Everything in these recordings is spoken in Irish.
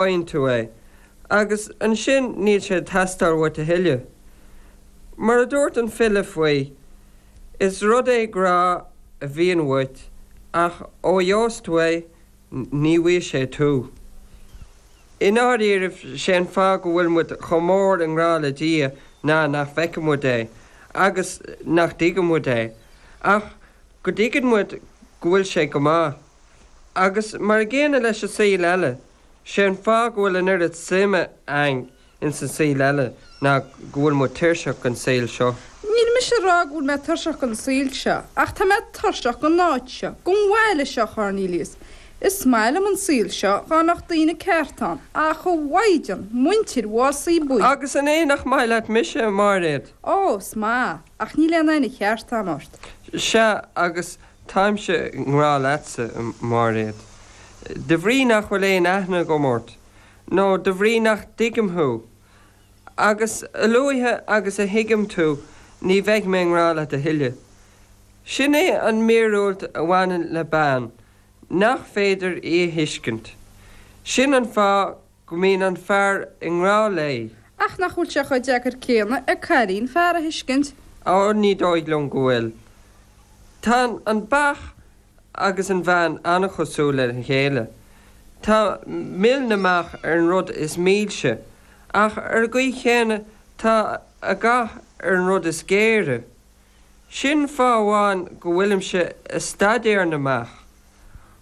Faigheann tú é, agus ansin níl sé ag teastáil uait a thuilleadh. Mar a dúirt an file faoi, is rud é grá a bhíonn uait, ach ó a gheobhas tú é, ní bhfaighidh sé tú. I ndáiríribh, sé an fáth go bhfuil muid chomh mór i ngrá le Dia ná nach bhfeiceann muid é, agus nach dtuigeann muid é, ach go dtuigeann muid go bhfuil sé go maith. Agus mar a gcéanna leis an saol eile, sé an fáth go bhfuil an oiread suime a'inn ins an saol eile ná go bhfuil muid tuirseach den saol seo. Níl mise a rá go bhfuil mé tuirseach den saol seo, ach tá mé tuirseach den áit seo, den bhaile seo, a Chornelius. Is maith liom an saol seo, dhá mbeadh daoine ceart ann, ach a mhaighdean, muintir Mhásaí Buí! Agus an é nach maith leat mise, a Mháiréad? Ó, is maith, ach níl aon aithne cheart a'm ort. Sea, agus Táimse i ngrá leatsa, a Mháiréad. De bhrí nach bhfuil aon aithne agam ort, nó de bhrí nach dtuigim thú. Agus a luaithe agus a thuigim tú, ní bheidh mé i ngrá leat a thuilleadh. Sin é an mhíorúilt a bhaineann le bean, nach féidir í a thuiscint. Sin an fáth go mbíonn an fear i ngrá léi. Ach nach bhfuil sé chomh deacair céanna ag cailín fear a thuiscint? Ó, ní dóigh liom go bhfuil. Tá an beach agus an bhean an-chosúil lena chéile. Tá mil na mbeach ar an rud is milse, ach ar an gcaoi chéanna tá a dhath ar an rud is géire. Sin fáth amháin go bhfuilimse ag staidéar na mbeach.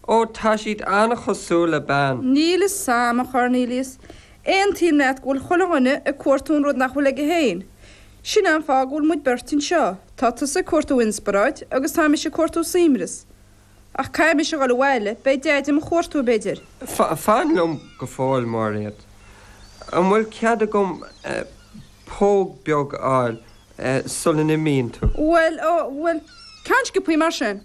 Ó, tá siad an-chosúil le bean. Níl fhios a'm, a Chornelius. Aontaím leat go bhfuil chuile dhuine ag cuartú an rud nach bhfuil aige féin. Sin é an fáth go bhfuil muid beirt anseo. Tá tusa ag cuartú inspioráid agus tá mise ag cuartú suaimhneas. Ach caithfidh mise a dhul abhaile, beidh Deaid i mo chuartú, b'fhéidir. Fan liom go fóill, Máiréad. An bhfuil cead agam póg beag a fháil sula n-imíonn tú? Bhuel, ó, bhuel, ceann sciobthaí mar sin.